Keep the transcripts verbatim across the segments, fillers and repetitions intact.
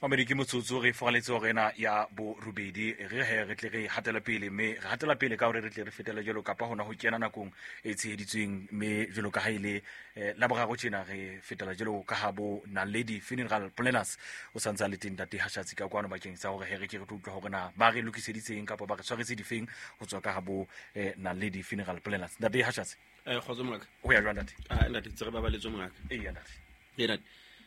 Mamedi ke motsotso re foraletse hore ena ya borobedi re he re tle re hatela pele mme re hatela pele ka hore re tle re fetele jwalo kapa hona ho kena nakong e tsheheditsweng mme jwalo ka ha ile la boraro tjena re fetela jwalo ka ha bo Naledi Funeral Planners o santse a le teng ntate Hashatsi ka kwano bakeng sa hore he re ke re tlo utlwa hore na ba re lokiseditseng kapa ba re tshwaretse difeng ho tswa ka ha bo Naledi Funeral Planners. Ntate Hashatsi, eh kgotso mongaka. O ya jwang ntate? Ah ntate, tse re babaletswe mongaka. Ee ntate. Ee ntate.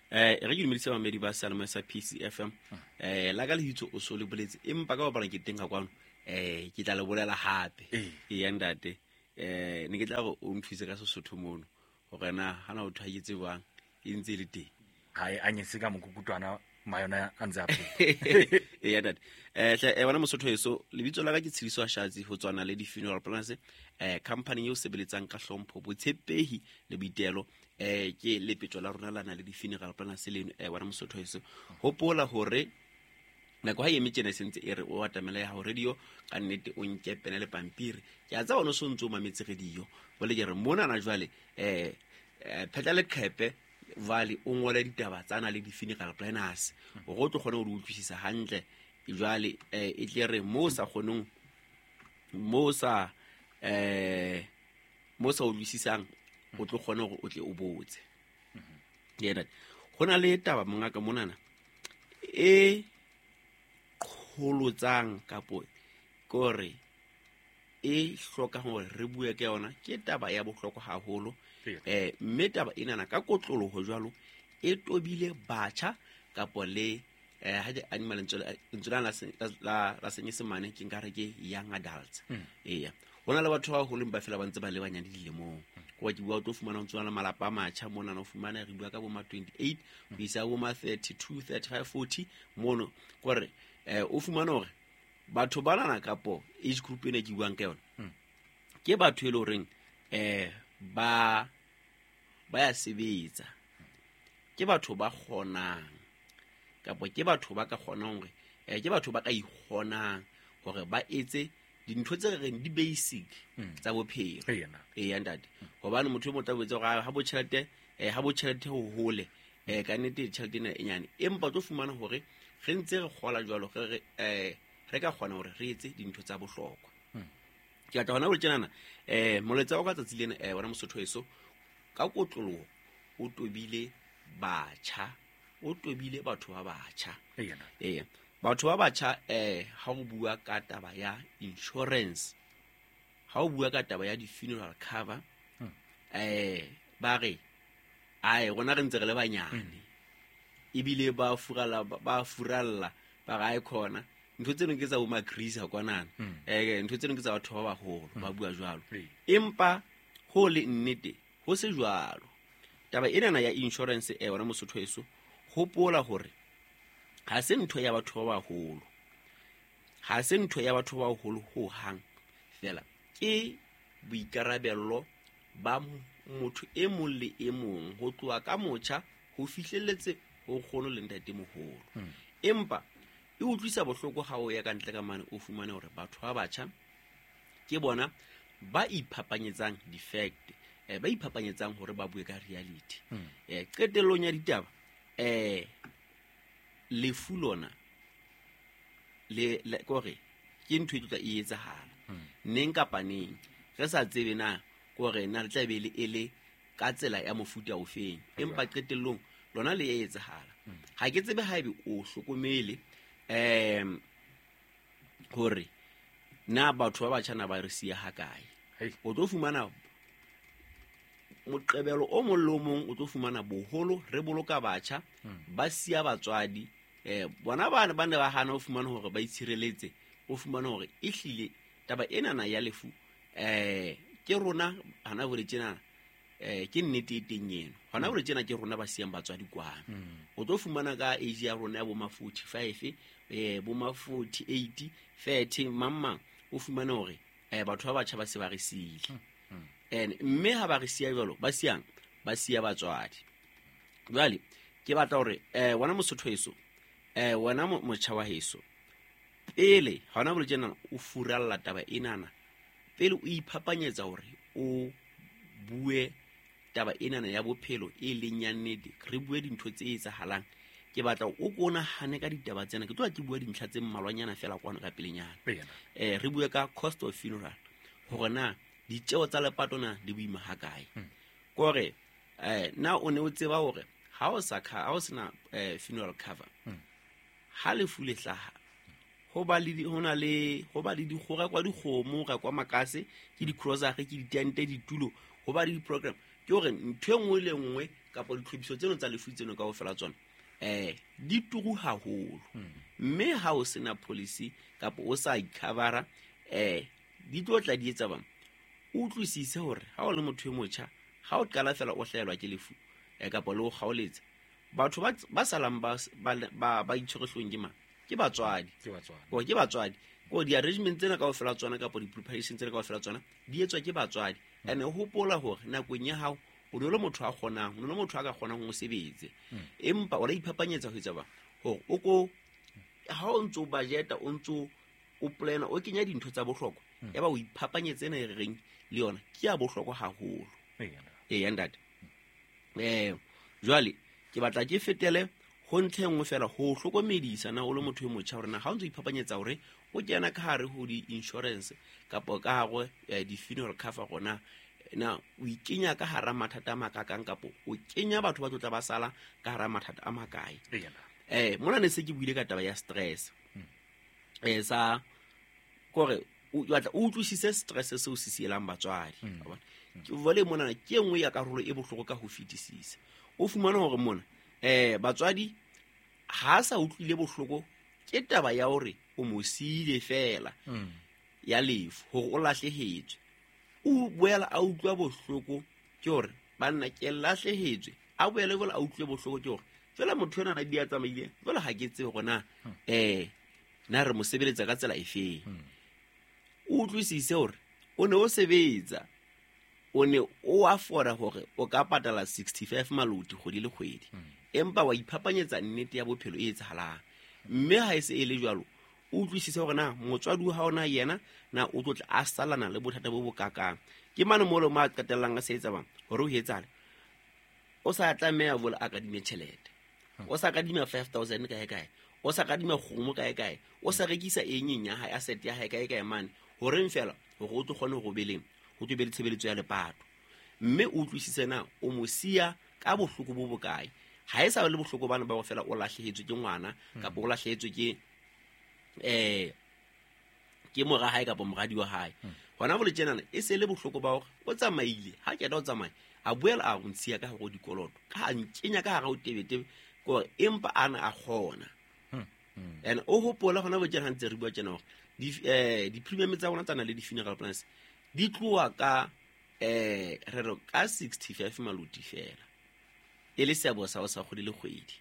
Eh re ke dumedisa bamedi ba Salome sa P C F M. Eh la ka lebitso o so le boletse empa ka bapala ke teng ka kwano eh ke tla le bolela hape. Ee ntate. Eh ne ke tla re o nthuse ka Sesotho mono hore na hana o thaketse jwang e ntse le teng. Ha e anyetse ka mokukutwana mayona a ntse a phela. Ee ntate. Eh hle eh wena Mosotho eso lebitso la ka ke Tshediso Hashatsi ho tswa Naledi Funeral Planners, eh company eo sebeletsang ka hlompho, botshepehi le boitelo. Eh ke lepetjo la rona la Naledi Funeral Planners leno. Eh wena Mosotho eso hopola hore nako ha e eme tjena e sentse e re o atamela ya hao radio ka nnete o nke pene le pampiri. Ke a tseba o so ntse o mametse radio. Bole ke re mona na jwale eh phetla leqhepe vale o ngole ditaba tsa Naledi Funeral Planners hore o tlo kgone ho di utlwisisa hantle. Jwale eh e tle re mo sa kgonong mo sa eh mo sa utlwisisang o tlo kgone hore o tle o botse. Yena ho na le taba mongaka monana e qholotsang kapo kore e hloka hore re bue ka yona, ke taba ya bohlokwa haholo. Eh mme taba enana ka kotloloho jwalo e tobile batjha kapo le eh ha di animal lentswe la la la senyesemane ke nka re ke young adults. Eya hona le batho ba holeng ba fela ba ntse ba le banyane dilemong. Kwa ke bua o tlo fumana ntse na malapa a matjha mona na o fumana re bua ka bo ma twenty-eight ho isa bo ma thirty-two, thirty-five, forty mono kore eh o fumana hore batho ba nana kapo age group ena ke buang ka yona ke batho e le horeng eh ba ba ya sebetsa, ke batho ba kgonang kapo ke batho ba ka kgonang hore eh ke batho ba ka ikgonang hore ba etse dintho tse re reng di basic tsa bophelo. Ee ntate, hobane motho e motla o botsa hore ha bo tjhelete eh ha bo tjhelete ho hole eh ka nnete tjhelete ena e nyane, empa tlo fumana hore re ntse re kgola jwalo re eh re ka kgona hore re etse dintho tsa bohlokwa. Ke batla hona ho tjenana eh moletsa wa ka tsatsi lena eh wena Mosotho eso ka kotloloho o tobile batjha, o tobile batho ba batjha. Ee batho ba batjha eh ha o bua ka taba ya insurance, ha o bua ka taba ya di-funeral cover eh ba re ae rona re ntse re le banyane ebile ba furalla ba furalla ba re ae khona ntho tseno ke tsa bo magrisa kwanana eh ntho tseno ke tsa batho ba baholo ba bua jwalo. Empa ho le nnete ho se jwalo. Taba enana ya insurance eh wena Mosotho eso hopola hore ha se ntho ya batho ba baholo, ha se ntho ya batho ba baholo ho hang fela, ke boikarabello ba motho e mong le e mong ho tloha ka motjha ho fihlelletse ho kgono le ntate moholo. Empa e utlwisa bohloko ha o ya ka ntle ka mane o fumane hore batho ba batjha ke bona ba iphapanyetsang di-fact, eh ba iphapanyetsang hore ba bue ka reality. Eh qetellong ya ditaba eh lefu lona le le kore ke ntho e tla e etsahala neng kapa neng re sa tsebe na kore na le tla be le ele ka tsela ya mofuta ofeng, empa qetellong lona le etsahala. Ha ke tsebe haebe o hlokomele em hore na batho ba batjha na ba re siya ha kae. O tlo fumana moqebelo o mong le o mong, o tlo fumana boholo re boloka batjha ba siya batswadi eh bona bana ba ne ba hana ho fumana hore ba itshireletse, o fumana hore e hlile taba ena na ya lefu eh ke rona hana hore tjena eh ke nnete e teng eno hona hore tjena ke rona ba siyang batswadi kwana. O tlo fumana ka age ya rona ya bo ma forty-five eh bo ma forty-eight thirty mamma o fumana hore eh batho ba batjha ba se ba re siile. And mme ha ba re siya jwalo ba siyang ba siya batswadi. Jwale ke batla hore eh wena Mosotho eso eh wena motjha wa heso pele hona hore tjena o furalla taba enana pele o iphapanyetsa hore o bue taba enana ya bophelo e leng ya nnete, re bue dintho tse etsahalang. Ke batla o ko nahane ka ditaba tsena, ke tloha ke bua dintlha tse mmalwanyana fela kwano ka pelenyana. Eh re bue ka cost of funeral, hore na ditjeo tsa lepato na di boima hakae. Kore eh na o ne o tseba hore ha o sa ha o sena funeral cover, ha lefu le hlaha ho ba le ho na le ho ba le dikgora kwa dikgomo ra kwa makase ke di-grocery ke ditente ditulo, ho ba le di-program. Ke hore ntho e nngwe le nngwe kapa ditlhophiso tseno tsa lefu tseno kaofela tsona eh di turu haholo. Mme ha o sena policy kapa o sa i-covera eh di tlo tla di etsa bang. O utlwisise hore ha o le motho e motjha, ha o qala fela o hlahelwa ke lefu eh kapa le o kgaoletsa, batho ba ba salang ba ba ba itshwere ke mang? Ke batswadi. Ke batswadi. Ko ke batswadi. Ko di-arrangement tsena kaofela tsona kapa di-preparation tsena kaofela tsona di etswa ke batswadi. Ene hopola hore nakong ya hao o ne le motho a kgonang, o ne le motho a ka kgonang ho sebetse. Empa o la iphapanyetsa ho etsa ba hore o ko ha o ntso budgeta, o ntso o plana, o kenya dintho tsa bohlokwa, ya ba o iphapanyetse ena e reng le yona ke ya bohlokwa haholo. Ee ntate. Eh jwale ke batla ke fetele ho ntlha e nngwe fela ho hlokomedisa na o le motho e motjha hore na ha o ntso iphapanyetsa hore o kena ka hare ho di-insurance kapa ka hare di-funeral cover, rona na o ikenya ka hara mathata a makakang kapa o kenya batho ba tlotla ba sala ka hara mathata a makae. Eh mona ne se ke buile ka taba ya stress. Eh sa kore o batla o utlwisise stress seo se sielang batswadi. Ke vole mona ke e nngwe ya karolo e bohloko ka ho fetisisa. O fumana hore mona eh batswadi ha sa utlwile bohloko ke taba ya hore o mo siile fela ya lefu hore o lahlehetswe. O boela a utlwa bohloko ke hore banna ke lahlehetswe, a boele boela a utlwe bohloko ke hore fela motho ena na di a tsamaile jwale ha ke tsebe hore na eh na re mo sebeletsa ka tsela efeng. O utlwisise hore o ne o sebetsa, o ne o afforda hore o ka patala sixty-five maloti kgwedi le kgwedi, empa wa iphapanyetsa nnete ya bophelo e etsahalang. Mme ha e se e le jwalo, o utlwisise hore na motswadi wa hao na yena na o tlo tla a salana le bothata bo bokakang. Ke mane mo le mo a qetellang a se etsa bang hore o etsale, o sa tlameha bola a kadime tjhelete, o sa kadima five thousand kae kae, o sa kadima kgomo kae kae, o sa rekisa eng eng ya hae, asset ya hae kae kae mane, horeng fela hore o tlo kgone ho robeleng ho tlo be le tshebeletso ya lepato. Mme o utlwisise na o mo siya ka bohloko bo bokae. Ha e sa le bohloko bana ba go fela o lahlehetswe ke ngwana kapa o lahlehetswe ke eh ke mora hae kapa moradi wa hae. Hona bole tjenana e se le bohloko ba hore o tsamaile, ha ke da o tsamaye a boela a go ntshiya ka hore dikoloto ka a nkenya ka hara o tebetebe kore empa ana a kgona. And o hopola hona bo tjena ntse re bua tjena hore di eh di-premium tsa rona tsana le di-funeral plans di tloha ka eh re re ka sixty-five maloti fela e le seabo sa o sa kgwedi le kgwedi.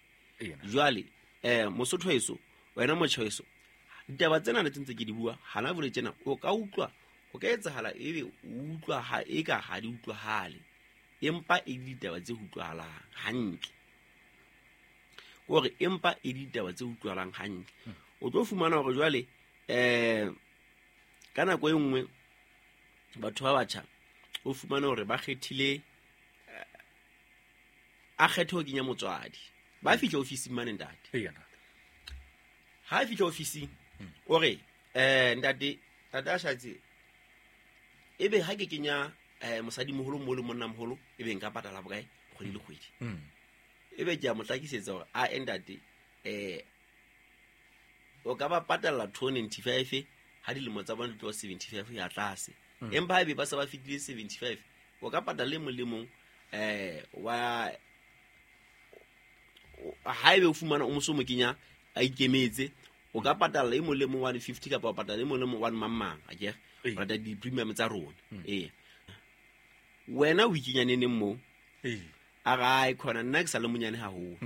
Jwale eh mosotho heso wena motjha heso, ditaba tsena le ntse ke di bua hana bole tjena o ka utlwa o ka etsahala ebe o utlwa ha e ka ha di utlwahale, empa e ditaba tse utlwahalang hantle. Hore empa e ditaba tse utlwahalang hantle. O tlo fumana hore jwale eh ka nako e nngwe batho ba batjha o fumana hore ba kgethile a kgethe ho kenya motswadi. Ba fihla ofising mane ntate. Ha fihla ofising o re eh ntate tata a shatse ebe ha ke kenya eh mosadi moholo mo le monna moholo ebe nka patala bokae kgwedi le kgwedi. Ebe ke a mo hlakisetsa hore a ntate eh o ka ba patala two ninety-five ha dilemo tsa bona di tloha seventy-five ya tlase. Empa ha ebe ba se ba fitile seventy-five o ka patala le molemong eh wa ha ebe o fumana o moso mo kenya a ikemetse o ka patala e molemo one fifty kapa o patala e molemo one mang mang akere rata di premium tsa rona. Eh wena o ikenya neneng mo eh a ga e khona nna ke sa le monyane haholo.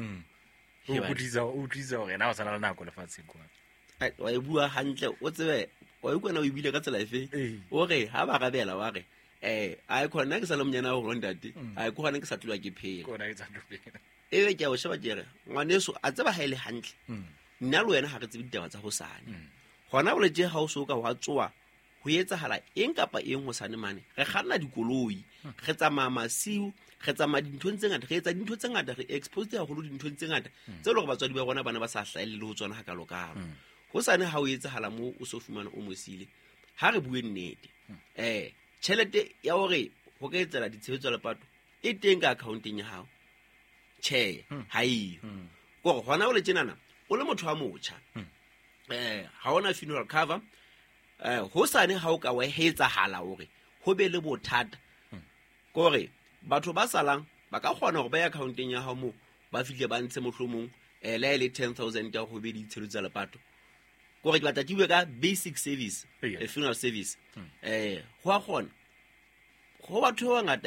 O utlwisa o utlwisa hore na o sana le nako lefatsheng kwa wa e bua hantle o tsebe wa ikona o ibile ka tsela efe o re ha ba rabela wa re eh a e khona ke sa le monyane haholo ntate a e khona ke sa tlwa ke phela kona ke sa tlwa phela ebe ke a o sheba ke re ngwaneso a tseba ha ile hantle nna le wena ha re tsebe ditaba tsa hosane. Hona boletse ha o so ka wa tsoa ho etsahala eng kapa eng hosane mane, re kganna dikoloi, re tsamaya masiu, re tsamaya dinthong tse ngata, re etsa dintho tse ngata, re exposed haholo dinthong tse ngata tse leng hore batswadi ba rona ba ne ba sa hlahelle le ho tsona hakalokalo. Hosane ha o etsahala moo o so fumana o mo siile, ha re bue nnete, um tjhelete ya hore ho ka etsela ditshebetso tsa lepato e teng ka accounteng ya hao? Tjhe, ha eyo. Kore hona o le tjenana, o le motho wa motjha, um ha ona funeral cover, um hosane ha o ka wa etsahala hore ho be le bothata, kore batho ba salang ba ka kgona hore ba ye accounteng ya hao moo, ba fihle ba ntshe mohlomong um le ha e le ten thousand ya hore ho be le ditshebetso tsa lepato. Kore ke batla ke bue ka basic service, Eya. eh, funeral service, um ho a kgona ho batho ba bangata.